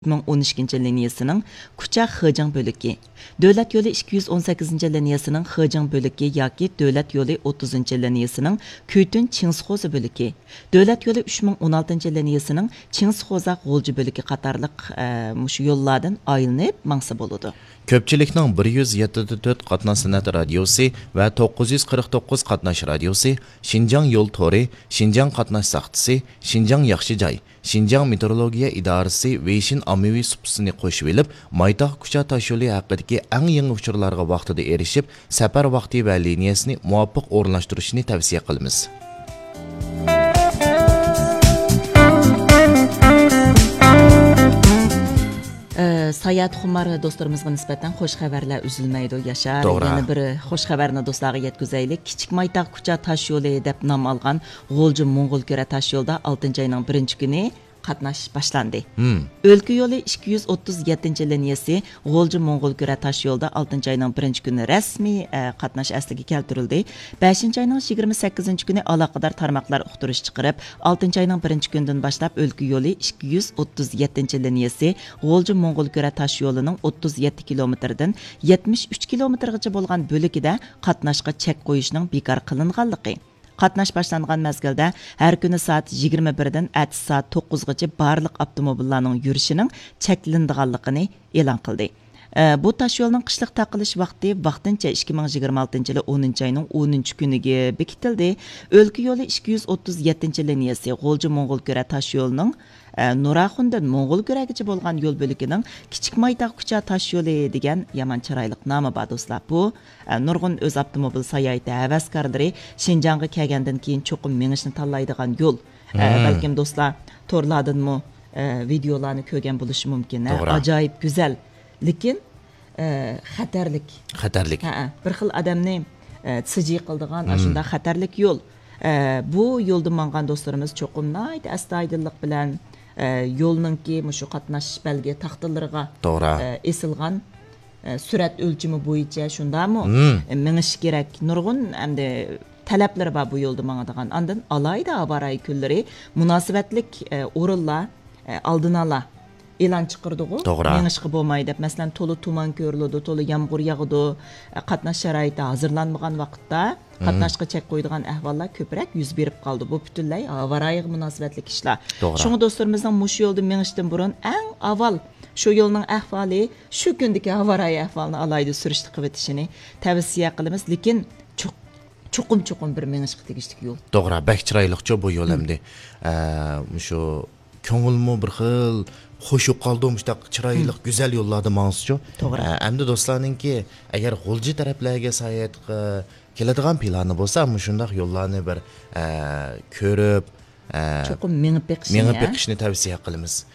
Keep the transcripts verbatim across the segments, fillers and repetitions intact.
مىڭ ئون ئىككىنچى لىنىيەسىنىڭ كۇچا خېجىڭ بۆلىكى، دۆلەت يولى ئىككى يۈز ئون سەككىزىنچى لىنىيەسىنىڭ خېجىڭ بۆلىكى ياكى دۆلەت يولى ئوتتۇزىنچى لىنىيەسىنىڭ كۈيتۈن چىڭسىخوزا بۆلىكى، دۆلەت يولى ئۈچ مىڭ ئون ئالتىنچى لىنىيەسىنىڭ چىڭسىخوزا غۇلجا بۆلىكى قاتارلىق، ئە، مۇشۇ يوللاردىن ئايلىنىپ ماڭسا بولىدۇ. كۆپچىلىكنىڭ بىر يۈز يەتتە دە تۆت قاتناش سەنئەت رادىيوسى ۋە توققۇز يۈز قىرىق توققۇز قاتناش رادىيوسى، شىنجاڭ يول تورى، شىنجاڭ قاتناش ساختىسى، شىنجاڭ ياخشى جاي، شىنجاڭ مېتېئورولوگىيە ئىدارىسى ۋېيشىن ئاممىۋى سۇپىسىنى قوشۇۋېلىپ، مايتاغ كۇچا تاشيولى ھەققىدىكى ئەڭ يېڭى ئۇچۇرلارغا ۋاقتىدا ئېرىشىپ، سەپەر ۋاقتى ۋە لىنىيەسىنى مۇۋاپىق ئورۇنلاشتۇرۇشنى تەۋسىيە قىلىمىز. ئە، ساياھەتخۇمار دوستلىرىمىزغا نىسبەتەن خوش خەۋەرلەر ئۈزۈلمەيدۇ، ياشار. توغرا. يەنە بىر خوش خەۋەرنى دوستلارغا يەتكۈزەيلى. كىچىك مايتاغ كۇچا تاش يولى دەپ نام ئالغان غۇلجا موڭغۇل كۈرە تاش يولىدا ئالتىنچى ئاينىڭ بىرىنچى كۈنى قاتناش باشلاندى. مم. ئۆلكە يولى ئىككى يۈز ئوتتۇز يەتتىنچى لىنىيەسى غۇلجا موڭغۇل كۈرە تاش يولىدا ئالتىنچى ئاينىڭ بىرىنچى كۈنى رەسمىي، ئە، قاتناش ئەسلىگە كەلتۈرۈلدى. بەشىنچى ئاينىڭ يىگىرمە سەككىزىنچى كۈنى ئالاقىدار تارماقلار ئۇقتۇرۇش چىقىرىپ، ئالتىنچى ئاينىڭ بىرىنچى كۈنىدىن باشلاپ ئۆلكە يولى ئىككى يۈز ئوتتۇز يەتتىنچى لىنىيەسى غۇلجا موڭغۇل كۈرە تاش يولىنىڭ ئوتتۇز يەتتە كىلومېتىردىن يەتمىش ئۈچ كىلومېتىرغىچە بولغان بۆلىكىدە قاتناشقا چەك قويۇشنىڭ بىكار قىلىنغانلىقى، قاتناش باشلانغان مەزگىلدە ھەر كۈنى سائەت يىگىرمە بىردىن ئەتىسى سائەت توققۇزغىچە بارلىق ئاپتوموبىللارنىڭ يۈرۈشىنىڭ چەكلىنىدىغانلىقىنى ئېلان قىلدى. ئە، بۇ تاشيولنىڭ قىشلىق تاقىلىش ۋاقتى ۋاقتىنچە ئىككى مىڭ يىگىرمە ئالتىنچى يىلى ئونىنچى ئاينىڭ ئونىنچى كۈنىگە بېكىتىلدى. ئۆلكە يولى ئىككى يۈز ئوتتۇز يەتتىنچى لىنىيەسى غۇلجا موڭغۇل كۈرە تاش يولىنىڭ، ئە، نۇراخۇندىن موڭغۇل كۈرەگىچە بولغان يول بۆلىكىنىڭ كىچىك مايتاغ كۇچا تاش يولى دېگەن يامان چىرايلىق نامى بار، دوستلار. بۇ، ئە، نۇرغۇن ئۆز ئاپتوموبىل ساياھىتى ھەۋەسكارلىرى شىنجاڭغا كەلگەندىن كېيىن چوقۇم مېڭىشنى تاللايدىغان يول. ئە، مم. بەلكىم دوستلار تورلاردىنمۇ، ئە، ۋىدېئولارنى كۆرگەن بولۇشى مۇمكىن. ھە، توغرا. ئاجايىپ گۈزەل. لېكىن، ئە، خەتەرلىك. خەتەرلىك. ھەئە، بىر خىل ئادەمنى، ئە، سىجىي قىلىدىغان مم. ئاشۇنداق خەتەرلىك يول. ئە، بۇ يولدا ماڭغان دوستلىرىمىز چوقۇم ناھايىتى ئەستايىدىللىق بىلەن، ئە، يولنىڭكى مۇشۇ قاتناش بەلگە تاختىلىرىغا، توغرا. ئە، ئېسىلغان، ئە، سۈرئەت ئۆلچىمى بويىچە، شۇنداقمۇ؟ مم. ئە، مېڭىش كېرەك. نۇرغۇن ئەمدى تەلەپلىرى بار بۇ يولدا ماڭىدىغان. ئاندىن ئالاھىدە ھاۋارايى كۈنلىرى مۇناسىۋەتلىك، ئە، ئورۇنلار، ئە، ئالدىنئالا ئېلان چىقىرىدىغۇ، توغرا. مېڭىشقا بولماي دەپ. مەسىلەن، تولا تۇمان كۆرۈلىدۇ، تولا يامغۇر ياغىدۇ، ئە، قاتناش شارائىتى ھازىرلانمىغان ۋاقىتتا مم. قاتناشقا چەك قويىدىغان ئەھۋاللار كۆپرەك يۈز بېرىپ قالىدۇ. بۇ پۈتۈنلەي ھاۋارايىغا مۇناسىۋەتلىك ئىشلار. توغرا. شۇڭا دوستلىرىمىزنىڭ مۇشۇ يولدا مېڭىشتىن بۇرۇن ئەڭ ئاۋۋال شۇ يولنىڭ ئەھۋالى، شۇ كۈندىكى ھاۋارايى ئەھۋالىنى ئالاھىدە سۈرۈشتە قىلىۋېتىشىنى تەۋسىيە قىلىمىز. لېكىن چوق-، چوقۇم، چوقۇم بىر مېڭىشقا تېگىشلىك يول. توغرا، بەك چىرايلىقچۇ بۇ يول مم. ئەمدى. ئە، مۇشۇ كۆڭۈلمۇ بىر خىل خوش بولۇپ قالىدۇ، مۇشۇنداق چىرايلىق، مم. گۈزەل يوللاردا ماڭسىچۇ. توغرا. ئە، ئەمدى دوستلارنىڭكى ئەگەر غۇلجا تەرەپلەرگە ساياھەتقە كېلىدىغان پىلانى بولسا، مۇشۇنداق يوللارنى بىر، ئە، كۆرۈپ، ئە، چوقۇم مېڭىپ بېقىشنى، مېڭىپ ھە؟ بېقىشنى تەۋسىيە قىلىمىز.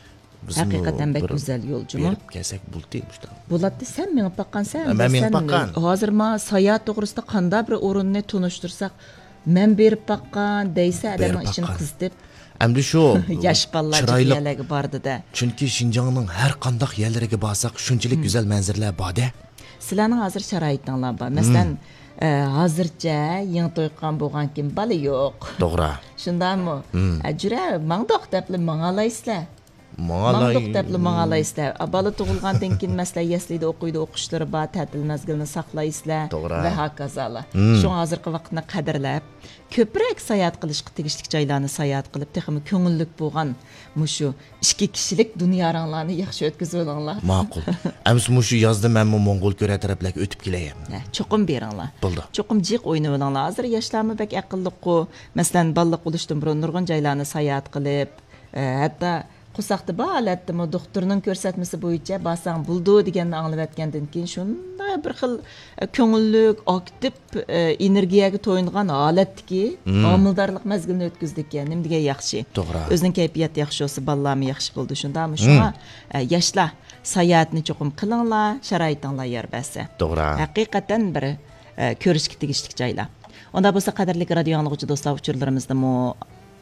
بىزمۇ ھەقىقەتەن بەك بىر گۈزەل يول جۇمۇ. بېرىپ كەلسەك بولدى مۇشۇنداق. بولاتتى، سەن مېڭىپ باققانسەن. مەن مېڭىپ باققان. ھازىر ما ساياھەت توغرىسىدا قانداق بىر ئورۇننى تونۇشتۇرساق، مەن بېرىپ باققان دەيسە، بېرىپ ئادەمنىڭ ئىچىنى باققان. قىزىتىپ. ئەمدى شۇ ياش بالىلار چىرايلىق جىق يەرلەرگە باردى-دە. چۈنكى شىنجاڭنىڭ ھەر قانداق يەرلىرىگە بارساق، شۇنچىلىك مم. گۈزەل مەنزىرىلەر بار-دە. سىلەرنىڭ ھازىر شارائىتىڭلار بار. مەسىلەن، مم. ئە، ھازىرچە يېڭى توي قىلغان بولغانكىن بالا يوق. توغرا. شۇنداقمۇ؟ مم. ئە، جۈرە، ماڭدۇق دەپلا ماڭالايسىلەر. ماڭالاي. ماڭدۇق دەپلا ماڭالايسىلەر. ئا، بالا تۇغۇلغاندىن كېيىن، مەسىلەن، يەسلىدە ئوقۇيدۇ، ئوقۇشلىرى بار، تەتىل مەزگىلىنى ساقلايسىلەر توغرا. ۋە ھاكازالا. مم. شۇڭا ھازىرقى ۋاقىتنى قەدىرلەپ، كۆپرەك ساياھەت قىلىشقا تېگىشلىك جايلارنى ساياھەت قىلىپ، تېخىمۇ كۆڭۈللۈك بولغان مۇشۇ ئىككى كىشىلىك دۇنيارىڭلارنى ياخشى ئۆتكۈزۈۋېلىڭلار. ماقۇل. ئەمىسە مۇشۇ يازدا مەنمۇ موڭغۇل كۈرە تەرەپلەرگە ئۆتۈپ كېلەي. ھە، چوقۇم بېرىڭلار. بولدى. چوقۇم جىق ئوينىۋېلىڭلار. ھازىر ياشلارمۇ بەك ئەقىللىققۇ. مەسىلەن، بالىلىق بولۇشتىن بۇرۇن نۇرغۇن جايلارنى ساياھەت قىلىپ، ئە، ھەتتا قورساقتا بار ھالەتتىمۇ دوختۇرنىڭ كۆرسەتمىسى بويىچە بارساڭ بولىدۇ دېگەننى ئاڭلىۋەتكەندىن كېيىن، شۇنداق بىر خىل، ئە، كۆڭۈللۈك، ئاكتىپ، ئە، ئېنېرگىيەگە تويۇنغان ھالەتتىكى مم. ھامىلىدارلىق مەزگىلىنى ئۆتكۈزدىكەن. نېمە دېگەن ياخشى. توغرا. ئۆزىنىڭ كەيپىياتى ياخشى بولسا، بالىلارمۇ ياخشى بولىدۇ. شۇنداقمۇ؟ شۇڭا، مم. ئە، ياشلار، ساياھەتنى چوقۇم قىلىڭلار، شارائىتىڭلار يار بەرسە. توغرا. ھەقىقەتەن بىر، ئە، كۆرۈشكە تېگىشلىك جايلار. ئۇنداق بولسا، قەدىرلىك رادىيو ئاڭلىغۇچى دوستلار، ئۇچۇرلىرىمىزنىمۇ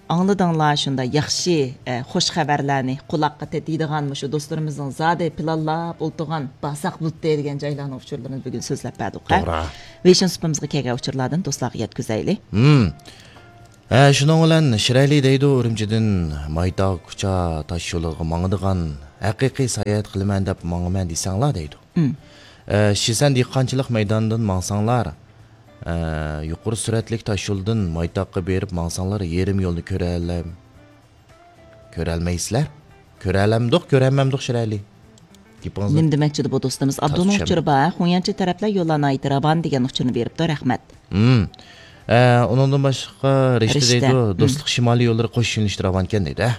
ئاڭلىدىڭلار، شۇنداق ياخشى، ئە، خوش خەۋەرلەرنى، قۇلاققا تېتىيدىغان مۇشۇ دوستلىرىمىزنىڭ زادى پىلانلاپ ئولتۇرغان بارساق بولدى دېگەن جايلارنىڭ ئۇچۇرلىرىنى بۈگۈن سۆزلەپ بەردۇق، ھە؟ توغرا. ۋېيشىن سۇپىمىزغا كەلگەن ئۇچۇرلاردىن دوستلارغا يەتكۈزەيلى. مم. ھە، شۇنىڭ بىلەن شىرئەلى دەيدۇ، ئۈرۈمچىدىن مايتاغ كۇچا تاش يولىغا ماڭىدىغان ھەقىقىي ساياھەت قىلىمەن دەپ ماڭىمەن دېسەڭلار دەيدۇ. مم. ئە، شىسەن دېھقانچىلىق مەيدانىدىن ماڭساڭلار، ئە، يۇقىرى سۈرئەتلىك تاش يولدىن مايتاغقا بېرىپ ماڭساڭلار، يېرىم يولنى كۆرەلەم-، كۆرەلمەيسىلەر. كۆرەلەمدۇق، كۆرەلمەمدۇق شىرئەلى. گېپىڭىزنى نېمە دېمەكچىدى بۇ دوستىمىز؟ تازا ئابدۇلنىڭ چۈشەنمىدىم. ئۇچۇرى بار، خۇڭيەنچى تەرەپلەر يوللار ناھايىتى راۋان دېگەن ئۇچۇرنى بېرىپتۇ، رەھمەت. مم. ئە، ئۇنىڭدىن باشقا رىشتە رىشتە. دەيدۇ، مم. دوستلۇق شىمالىي يوللىرى قوش يۆنىلىشتە راۋانكەن دەيدۇ، ھە؟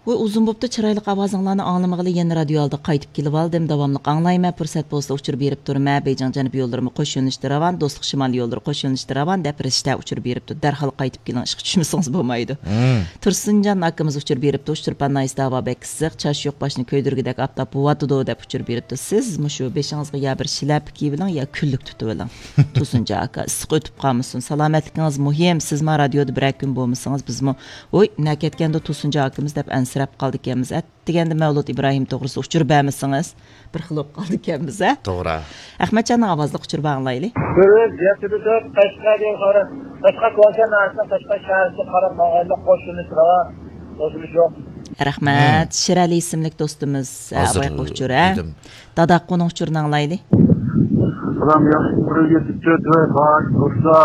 ۋوي، ئۇزۇن بوپتۇ، چىرايلىق ئاۋازىڭلارنى ئاڭلىمىغىلى، يەنە رادىيو ئالدىغا قايتىپ كېلىۋالدىم، داۋاملىق ئاڭلايمەن، پۇرسەت بولسا ئۇچۇر بېرىپ تۇرىمەن، بېيجىڭ جەنۇبىي يوللىرىمۇ قوش يۆنىلىشتە راۋان، دوستلۇق شىمالىي يوللىرى قوش يۆنىلىشتە راۋان، دەپ رىشتە ئۇچۇر بېرىپتۇ، دەرھال قايتىپ كېلىڭ، ئىشقا چۈشمىسىڭىز بولمايدۇ. مم. تۇرسۇنجان ئاكىمىز ئۇچۇر بېرىپتۇ، ئۇچتۇرپان ناھىيەسىدە ھاۋا بەك ئىسسىق، چاچ يوق، باشنى كۆيدۈرگۈدەك ئاپتاپ بوۋاتىدۇ، دەپ ئۇچۇر بېرىپتۇ. سىز مۇشۇ بېشىڭىزغا يا بىر شىلەپە كىيىۋېلىڭ، يا كۈنلۈك تۇتۇۋېلىڭ. تۇرسۇنجان ئاكا، ئىسسىق ئۆتۈپ قالمىسۇن، سالامەتلىكىڭىز مۇھىم. سىز ما رادىيودا بىرەر كۈن بولمىسىڭىز، بىزمۇ، ۋوي، نەكەتكەندۇ تۇرسۇنجان ئاكىمىز، دەپ ئەنسىرەپ قالىدىكەنمىز. ئەتىگەندە مەۋلۇت ئىبراھىم توغرىسىدا ئۇچۇر بەرمىسىڭىز، بىر خىل بولۇپ قالىدىكەنمىز، ھە؟ توغرا. ئەخمەتجاننىڭ ئاۋازلىق ئۇچۇرى بار، ئاڭلايلى. بىز يەتتە تۆت قەشقەردىن قارا-، قەشقەر كوچا ناھىيەسىنىڭ قەشقەر شەھىرىگە قاراپ ماڭغاندا قوشۇلۇش راۋان، قوشۇلۇش يوق. رەھمەت. مم. شىرئەلى ئىسىملىك دوستىمىز، ھە، ھازىر ئاۋايقى ئۇچۇر، ھە؟ دېدىم. داداققۇنىڭ ئۇچۇرىنى ئاڭلايلى. سالام، ياخشى، بىر يەتتە تۆت ۋە بار بولسا،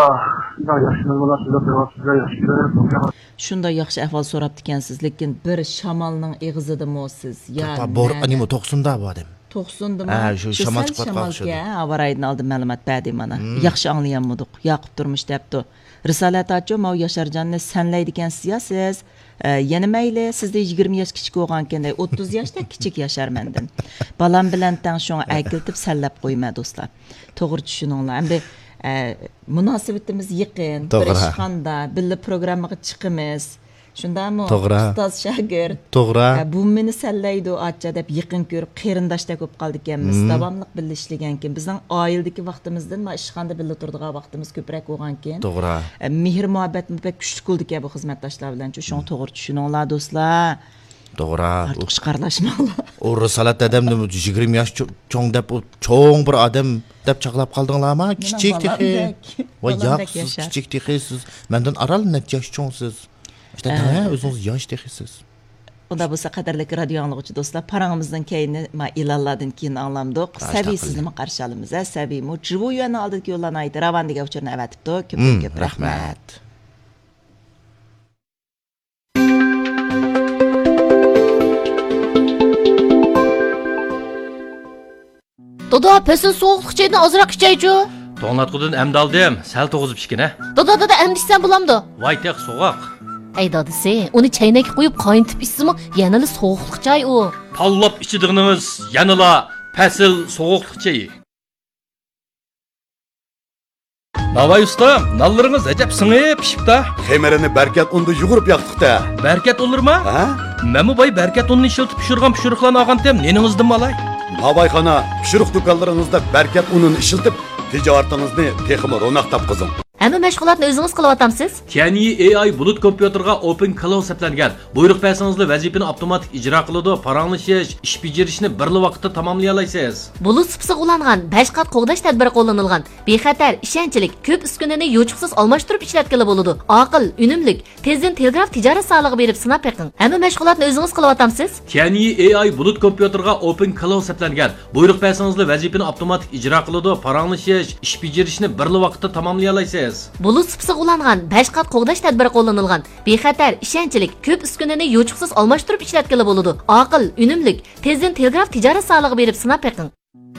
شۇنداق ياخشى مەلۇماتلار بېرىپ بېرىۋاتىسىز، ياخشى كۆرۈپ. شۇنداق ياخشى ئەھۋال سوراپتىكەنسىز، لېكىن بىر شامالنىڭ ئېغىزىدىمۇ سىز؟ يا تۇرپان، بور-، نېمە، توقسۇندا بۇ ئادەم. توقسۇندىمۇ؟ ھە، شۇ شۇ شامال سەل چىقىۋاتقان ئوخشىدى. ھە، ھاۋا رايىدىن ئالدىن مەلۇمات بەردى مانا. مم. ياخشى ئاڭلىيالمىدۇق. ياقۇپ تۇرمۇش دەپتۇ. رىسالەت ئاچۇ، ماۋۇ ياشارجاننى سەنلەيدىكەنسىز يا سىز؟ ئە، يەنە مەيلى، سىزدىن يىگىرمە ياش كىچىك بولغانكەن دەي، ئوتتۇز ياشتەك كىچىك ياشار مەندىن. بالام بىلەن تەڭ، شۇڭا ئەكېلىتىپ سەنلەپ قويما، دوستلار. توغرا چۈشىنىڭلار. ئەمدى، ئە، مۇناسىۋىتىمىز يېقىن، بىر توغرا. ئىشخانىدا، بىللە پروگراممىغا چىقىمىز. شۇنداقمۇ؟ توغرا. ئۇستاز شاگىرت. توغرا. ئە، بۇ مېنى سەنلەيدۇ، ئاچا، دەپ يېقىن كۆرۈپ، قېرىنداشتەك بولۇپ قالىدىكەنمىز. مم. داۋاملىق بىللە ئىشلىگەنكىن، بىزنىڭ ئائىلىدىكى ۋاقتىمىزدىن، ما، ئىشخانىدا بىللە تۇرىدىغان ۋاقتىمىز كۆپرەك بولغانكىن. توغرا. ئە، مېھىر مۇھەببەتمۇ بەك كۈچلۈك بولىدىكەن بۇ خىزمەتداشلار بىلەن. شۇڭا مم. توغرا چۈشىنىڭلار، دوستلار. توغرا. ئارتۇقچە قارىلاشماڭلار. ئۇ رىسالەت دادامنى يىگىرمە ياش چو-، چوڭ دەپ، ئۇ چوڭ بىر ئادەم دەپ چاغلاپ قالدىڭلارمۇ؟ مېنىڭ كىچىك بالام تېخى. بەك، ۋاي، بالام ياق، بەك سىز ياشار. كىچىك تېخى، سىز مەندىن ئاران نەچچە ياش چوڭسىز. ئىشتە، ئە. ھە، ئۆزىڭىز ياش تېخى سىز. ئۇنداق بولسا، قەدىرلىك رادىيو ئاڭلىغۇچى دوستلار، پاراڭىمىزنىڭ كەينى، ما، ئېلانلاردىن كېيىن ئاڭلامدۇق. سەۋىي، سىزنىمۇ قارشى ئالىمىز، ھە، سەۋىيمۇ. جىۋۇ يۈەننىڭ ئالدىدىكى يوللار ناھايىتى راۋان دېگەن ئۇچۇرنى ئەۋەتىپتۇ. كۆپتىن مم، كۆپ رەھمەت. رەھمەت. دادا، پەسىل سوغۇقلۇق چېيىدىن ئازراق ئىچەيچۇ. توڭلاتقۇدىن ئەمدى ئالدىم، سەل توغۇزۇپ ئىچكىنە. دادا، دادا، ئەمدى ئىچسەم بولامدۇ؟ ۋاي، تېخى سوغۇق. ئەي دادىسى، ئۇنى چەينەككە قۇيۇپ قاينىتىپ ئىچسىمۇ يەنىلا سوغۇقلۇق چاي ئۇ. تاللاپ ئىچىدىغىنىڭىز يەنىلا پەسىل سوغۇقلۇق چېيى. ناۋاي ئۇستام، نانلىرىڭىز ئەجەب سىڭىپ پىشىپتا. خېمىرىنى بەركەت ئۇندا يۇغۇرۇپ ياقتۇق-تە. بەركەت ئۇنلىرىما؟ ھە؟ مەنمۇ باي بەركەت ئۇنىنى ئىشلىتىپ پىشۇرغان پىشۇرۇقلارنى ئالغانتىم، نېنىڭىزدىنمۇ ئالاي؟ ناۋايخانا، پىشۇرۇق دۇكانلىرىڭىزدا بەركەت ئۇنىنى ئىشلىتىپ، تىجارىتىڭىزنى تېخىمۇ روناق تاپقۇزۇڭ. ھەممە مەشغۇلاتنى ئۆزىڭىز قىلىۋاتامسىز؟ كيەنيى ئېي ئاي بۇلۇت كومپيۇتېرغا ئوپېن كلاود سەپلەنگەن. بۇيرۇق بەرسىڭىزلا ۋەزىپىنى ئاپتوماتىك ئىجرا قىلىدۇ، پاراڭلىشىش، ئىش بېجىرىشنى بىرلا ۋاقىتتا تاماملىيالايسىز. بۇلۇت سۇپىسىغا ئۇلانغان بەش قات قوغداش تەدبىرى قوللىنىلغان. بىخەتەر، ئىشەنچلىك، كۆپ ئۈسكۈنىنى يوچۇقسىز ئالماشتۇرۇپ ئىشلەتكىلى بولىدۇ. ئاقىل، ئۈنۈملۈك. تېزدىن تېلېگراف تىجارەت زالىغا بېرىپ سىناپ بېقىڭ. ھەممە مەشغۇلاتنى ئۆزىڭىز قىلىۋاتامسىز؟ كيەنيى ئېي ئاي بۇلۇت كومپيۇتېرغا ئوپېن كلاود سەپلەنگەن. بۇيرۇق بەرسىڭىزلا ۋەزىپىنى ئاپتوماتىك ئىجرا قىلىدۇ، پاراڭلىشىش، ئىش بېجىرىشنى بىرلا ۋاقىتتا تاماملىيالايسىز. بۇلۇت سۇپىسىغا ئۇلانغان بەش قات قوغداش تەدبىرى قوللىنىلغان. بىخەتەر، ئىشەنچلىك، كۆپ ئۈسكۈنىنى يوچۇقسىز ئالماشتۇرۇپ ئىشلەتكىلى بولىدۇ. ئاقىل، ئۈنۈملۈك. تېزدىن تېلېگراف تىجارەت زالىغا بېرىپ سىناپ بېقىڭ.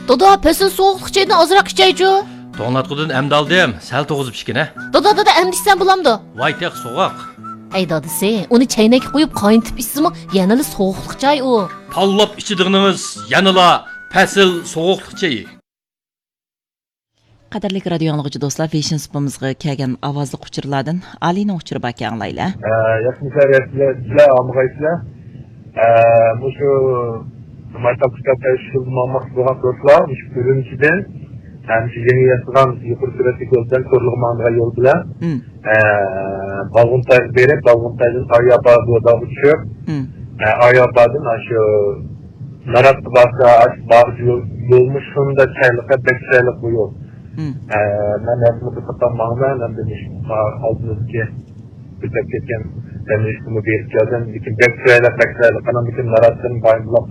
دادا، پەسىل سوغۇقلۇق چېيىدىن ئازراق ئىچەيچۇ. توڭلاتقۇدىن ئەمدى ئالدىم، سەل توغۇزۇپ ئىچكىنە. دادا، دادا، ئەمدى ئىچسەم بولامدۇ؟ ۋاي، تېخى سوغۇق. ئەي دادىسى، ئۇنى چەينەككە قۇيۇپ قاينىتىپ ئىچسىمۇ يەنىلا سوغۇقلۇق چاي ئۇ. تاللاپ ئىچىدىغىنىڭىز يەنىلا پەسىل سوغۇقلۇق چېيى. قەدىرلىك رادىيو ئاڭلىغۇچى دوستلار، ۋېيشىن سۇپىمىزغا كەلگەن ئاۋازلىق ئۇچۇرلاردىن ئالىنىڭ ئۇچۇرى باركەن، ئاڭلايلى. ئە، ياخشىمۇسىلەر، ياخشىسىلەر، سىلەر ئامىغايسىلەر. ئە، مۇشۇ مايتاپ كىتاب تەشكىلاتى ماڭماقچى بولغان دوستلار، مۇشۇ ئۈرۈمچىدىن، ئە، مۇشۇ يېڭى ياسىغان يۇقىرى سۈرئەتلىك يول بىلەن كورلىغا ماڭىدىغان يول بىلەن، مم. ئە، بالغۇنتايغا بېرىپ، بالغۇنتايدىن ئاياپا بوزاغا چۈشۈپ، مم. ئە، ئاياپادىن ئاشۇ ناراتقا بارسا، ئاشۇ بارغۇچە يول، يولمۇ شۇنداق چىرايلىق، بەك چىرايلىق بۇ يول. ئە، مەن ھەزمۇ قىلىپ ماڭىمەن، ئەمدى مۇشۇ ئالدىمىزدىكى كۆتۈرۈپ كەتكەن دەملىكنىمۇ بېرىپ كەلدىم. لېكىن بەك چىرايلىق، بەك چىرايلىق. ئانام لېكىن ناراتتىن بايمۇلاق